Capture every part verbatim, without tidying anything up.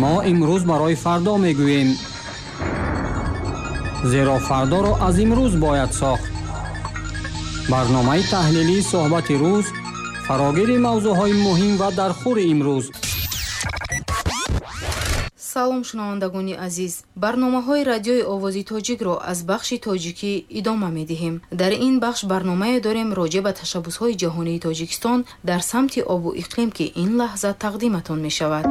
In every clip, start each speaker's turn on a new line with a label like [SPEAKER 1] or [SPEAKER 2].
[SPEAKER 1] Мо имрӯз барои фардо мегӯем, зеро фардоро аз имрӯз бояд сохт. Барномаи таҳлилии суҳбати рӯз фарогири мавзӯъҳои муҳим ва дархӯри имрӯз.
[SPEAKER 2] Салом шунавандагони азиз. Барномаҳои радиои овози тоҷикро аз бахши тоҷикӣ идома медиҳем. Дар ин бахш барномае дорем роҷеъ ба ташаббусҳои ҷаҳонии Тоҷикистон дар самти обу иқлим, ки ин лаҳза тақдиматон мешавад.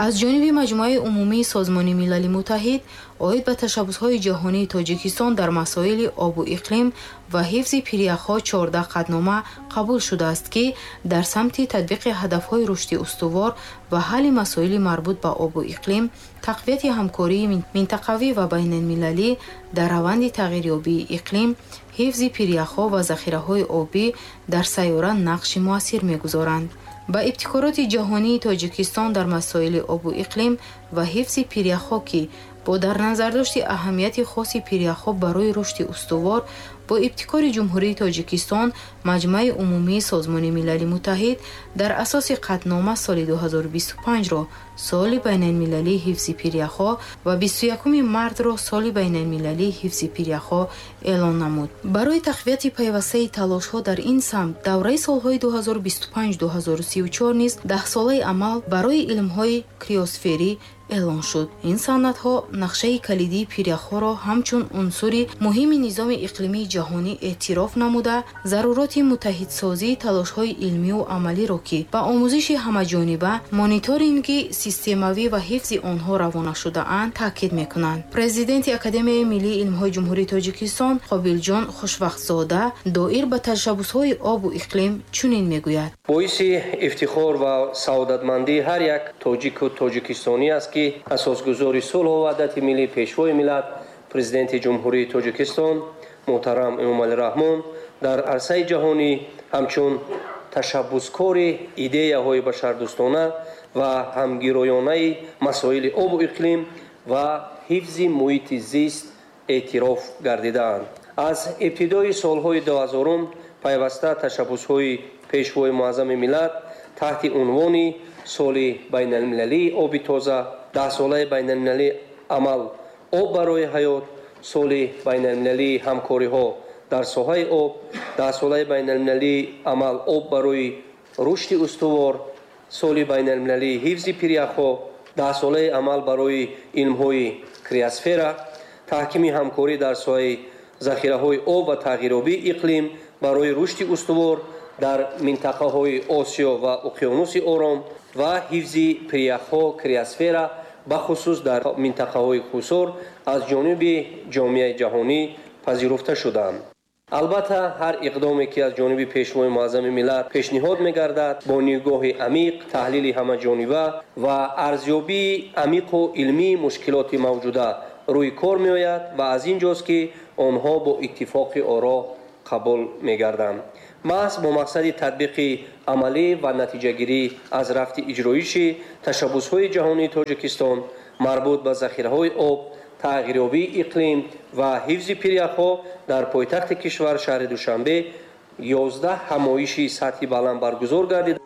[SPEAKER 2] Аз ҷониби Маҷмӯаи умумии Созмони Милали Муттаҳид оид ба ташаббусҳои ҷаҳонии Тоҷикистон дар масоили обу иқлим ва ҳифзи пиряхҳо чордаҳ қатънома қабул шудааст, ки дар самти татбиқи ҳадафҳои рушди устувор ва ҳалли масоили марбут ба обу иқлим, тақвияти ҳамкории минтақавӣ ва байналмилалӣ дар раванди тағйирёбии иқлим, ҳифзи пиряхҳо ва захираҳои обӣ дар сайёра нақши муассир мегузоранд. Ба ибтикороти ҷаҳонии Тоҷикистон дар масоили обу иқлим ва ҳифзи пиряхҳо, ки бо дар назардошти аҳамияти хоси пиряхҳо барои рушди устувор, бо ибтикори Ҷумҳурии Тоҷикистон Маҷмӯаи умумии Созмони Милали Муттаҳид дар асоси қатънома соли ду ҳазору бисту панҷро соли байналмилалии ҳифзи пиряхҳо ва бисту якуми мартро соли байналмилалии ҳифзи пиряхҳо эълон намуд. Барои тақвияти пайвастаи талошҳо дар ин самт давраи солҳои ду ҳазору бисту панҷ ду ҳазору сию чор низ даҳсолаи амал барои илмҳои криосферӣ эълон шуд. Ин санадҳо нақшаи калидии пиряхҳоро ҳамчун унсури муҳими низоми иқлимии ҷаҳонӣ эътироф намуда, заруроти муттаҳидсозии талошҳои илмию амалиро, ки ба омӯзиши ҳамаҷониба, мониторинги системавӣ ва ҳифзи онҳо равона шудаанд, таъкид мекунанд. Президенти Академияи миллии илмҳои Ҷумҳурии Тоҷикистон Қобилҷон Хушвақтзода доир ба ташаббусҳои обу иқлим чунин мегӯяд:
[SPEAKER 3] боиси ифтихор ва саодатмандии ҳар як тоҷику тоҷикистонӣ аст, ки асосгузори сулҳу ваҳдати миллӣ, пешвои миллат, президенти Ҷумҳурии Тоҷикистон муҳтарам Эмомалӣ Раҳмон дар арсаи ҷаҳонӣ ҳамчун ташаббускори идеяҳои башардӯстона ва ҳамгироёнаи масоили обу иқлим ва ҳифзи муҳити зист эътироф гардидаанд. Аз ибтидои солҳои дуҳазорум пайваста ташаббусҳои пешвои муаззами миллат таҳти унвони соли байналмилалии оби тоза, даҳсолаи байналмилалии амал об барои ҳаёт, соли байналмилалии ҳамкориҳо дар соҳаи об, даҳсолаи байналмилалии амал об барои рушди устувор, соли байналмилалии ҳифзи пиряхҳо, даҳсолаи амал барои илмҳои криосфера, таҳкими ҳамкорӣ дар соҳаи захираҳои об ва тағйирёбии иқлим барои рушди устувор дар минтақаҳои Осиё ва Уқёнуси Ором ва ҳифзи пиряхҳо, криосфера, бахусус дар минтақаҳои хусур аз ҷониби ҷомеаи ҷаҳонӣ пазируфта шуданд. Албатта, ҳар иқдоме, ки аз ҷониби пешвои муаззами миллат пешниҳод мегардад, бо нигоҳи амиқ, таҳлили ҳамаҷониба ва арзёбии амиқу илмии мушкилоти мавҷуда рӯи кор меояд ва аз ин ҷост, ки онҳо бо иттифоқи оро қабул мегарданд. Маҳз бо мақсади татбиқи амалӣ ва натиҷагирӣ аз рафти иҷроиши ташаббусҳои ҷаҳонии Тоҷикистон марбут ба захираҳои об, тағйирёбии иқлим ва ҳифзи пиряхҳо дар пойтахти кишвар шаҳри Душанбе ёздаҳ ҳамоиши сатҳи баланд баргузор гардид.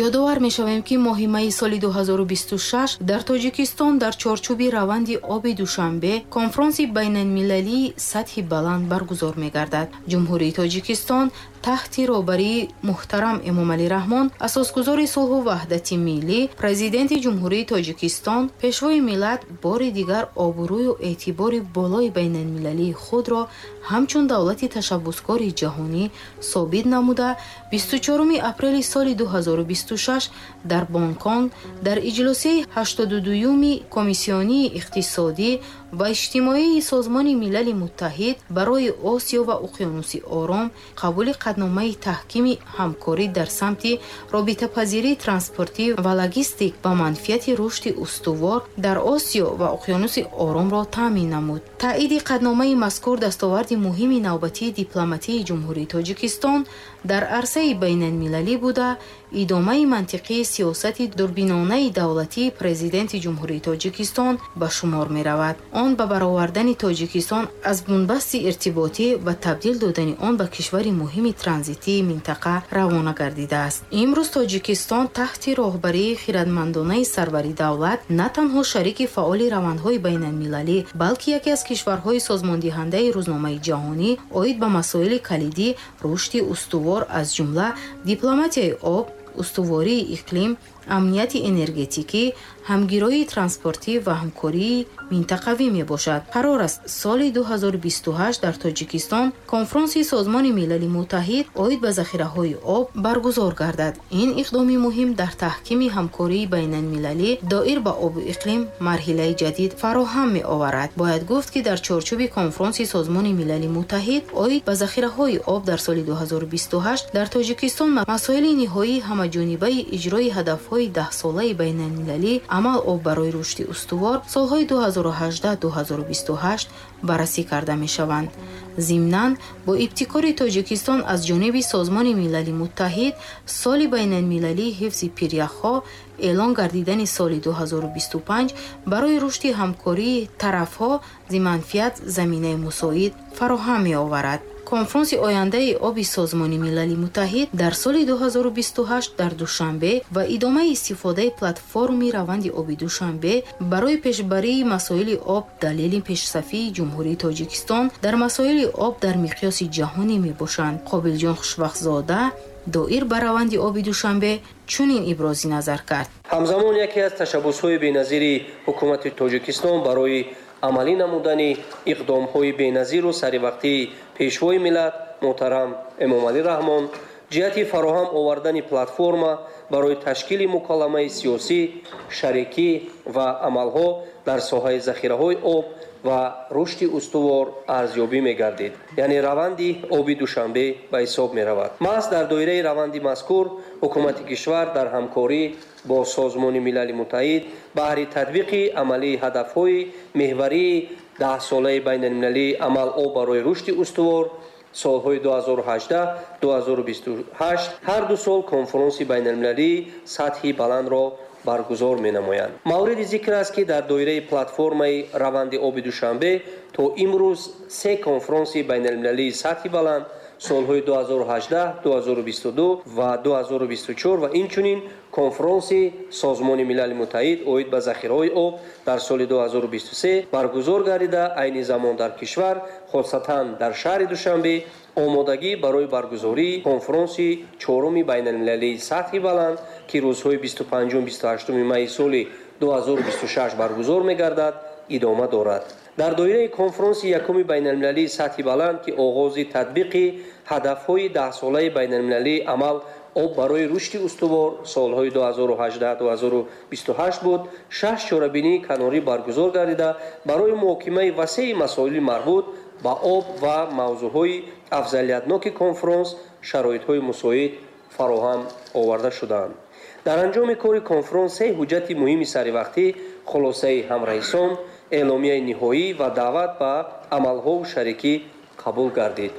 [SPEAKER 2] Ёдовар мешавем, ки моҳи майи соли ду ҳазору бисту шаш дар Тоҷикистон дар чорчӯби раванди оби Душанбе конфронси байналмилалии сатҳи баланд баргузор мегардад. Ҷумҳурии Тоҷикистон таҳти роҳбарии муҳтарам Эмомалӣ Раҳмон, асосгузори сулҳу ваҳдати миллӣ, президенти Ҷумҳурии Тоҷикистон, пешвои миллат бори дигар обрӯю эътибори болои байналмилалии худро ҳамчун давлати ташаббускори ҷаҳонӣ собит намуда, бисту чоруми апрели соли ду ҳазору бисту шаш дар Бонконг дар иҷлосияи ҳаштоду дуюми Комиссионии иқтисодӣ ва иҷтимоии Созмони Милали Муттаҳид барои Осиё ва Уқёнуси Ором қабули қатъномаи таҳкими ҳамкорӣ дар самти робитапазирии транспортӣ ва логистик ба манфиати рушди устувор дар Осиё ва Уқёнуси Оромро таъмин намуд. Таъиди қатъномаи мазкур дастоварди муҳими навбатии дипломатии Ҷумҳурии Тоҷикистон дар арсаи байналмилалӣ буда, идомаи мантиқии сиёсати дурбинонаи давлатии Президенти Ҷумҳурии Тоҷикистон ба шумор меравад. Он ба баровардани Тоҷикистон аз бунбасти иртиботӣ ва табдил додани он ба кишвари муҳими транзитии минтақа равона гардидааст. Имрӯз Тоҷикистон таҳти роҳбарии хирадмандонаи сарвари давлат на танҳо шарики фаъоли равандҳои байналмилалӣ, балки яке аз кишварҳои созмондиҳандаи рӯзномаи ҷаҳонӣ оид ба масоили калидӣ, рушди устувор, аз ҷумла дипломатияи об, устувории иқлим, амнияти энергетикӣ, ҳамгироии транспортӣ ва ҳамкории минтақавӣ мебошад. Қарор аст соли ду ҳазору бисту ҳашт дар Тоҷикистон конфронси Созмони Милали Муттаҳид оид ба захираҳои об баргузор гардад. Ин иқдоми муҳим дар таҳкими ҳамкории байналмилалӣ доир ба обу иқлим марҳилаи ҷадид фароҳам меоварад. Бояд гуфт, ки дар чорчӯби конфронси Созмони Милали Муттаҳид оид ба захираҳои об дар соли ду ҳазору бисту ҳашт дар Тоҷикистон масоили ниҳоии ҳамаҷонибаи иҷрои ҳадафҳои даҳсолаи байналмилалӣ амал об барои рушди устувор солҳои ду ҳазору ҳаждаҳ ду ҳазору бисту ҳашт баррасӣ карда мешаванд. Зимнан бо ибтикори Тоҷикистон аз ҷониби Созмони Милали Муттаҳид соли байналмилалии ҳифзи пиряхҳо эълон гардидани соли ду ҳазору бисту панҷ барои рушди ҳамкории тарафҳо зиманфиат заминаи мусоид фароҳам меоварад. Конфронси ояндаи оби Созмони Милали Муттаҳид дар соли ду ҳазору бисту ҳашт дар Душанбе ва идомаи истифодаи платформи раванди оби Душанбе барои пешбарии масоили об далели пешсафии Ҷумҳурии Тоҷикистон дар масоили об дар миқёси ҷаҳонӣ мебошанд. Қобилҷон Хушбахтзода доир ба раванди оби Душанбе чунин ибрози назар кард.
[SPEAKER 3] Ҳамзамон яке аз ташаббусҳои беназири ҳукумати Тоҷикистон барои амалӣ намудани иқдомҳои беназиру саривақтии Пешвои миллат муҳтарам Эмомалӣ Раҳмон ҷиҳати фароҳам овардани платформа барои ташкили муколамаи сиёсӣ, шарикӣ ва амалҳо дар соҳаи захираҳои об ва рушди устувор арзёбӣ мегардид. Яъне раванди оби Душанбе ба ҳисоб меравад. Маҳз дар доираи раванди мазкур ҳукумати кишвар дар ҳамкорӣ бо Созмони Милали Муттаҳид баҳри татбиқи амалии ҳадафҳои меҳварии даҳсолаи байналмилалии амал об барои рушди устувор солҳои ду ҳазору ҳаждаҳ ду ҳазору бисту ҳашт ҳар ду сол конфронси байналмилалии сатҳи баландро баргузор менамоянд. Мавриди зикр аст, ки дар доираи платформаи раванди оби Душанбе то имрӯз се конфронси байналмилалии сатҳи баланд солҳои ду ҳазору ҳаждаҳ, ду ҳазору бисту ду ва ду ҳазору бисту чор ва инчунин конфронси Созмони Милали Муттаҳид оид ба захираҳои об дар соли ду ҳазору бисту се баргузор гардида, айни замон дар кишвар, хосатан дар шаҳри Душанбе, омодагӣ барои баргузории конфронси чоруми байналмилалии сатҳи баланд, ки рӯзҳои бисту панҷум бисту ҳаштуми майи соли ду ҳазору бисту шаш баргузор мегардад, идома дорад. Дар доираи конфронси якуми байналмилалии сатҳи баланд, ки оғози татбиқи ҳадафҳои даҳсолаи байналмилалии амал об барои рушди устувор солҳои ду ҳазору ҳаждаҳ ду ҳазору бисту ҳашт буд, шаш чорабинии канорӣ баргузор гардида барои муҳокимаи васеи масоили марбут ба об ва мавзӯъҳои афзалиятноки конфронс шароитҳои мусоид фароҳам оварда шуданд. Дар анҷоми кори конфронс се ҳуҷҷати муҳими саривақтӣ, хулосаи ҳамраисон, эъломияи ниҳоӣ ва даъват ба амалҳову шарикӣ қабул гардид.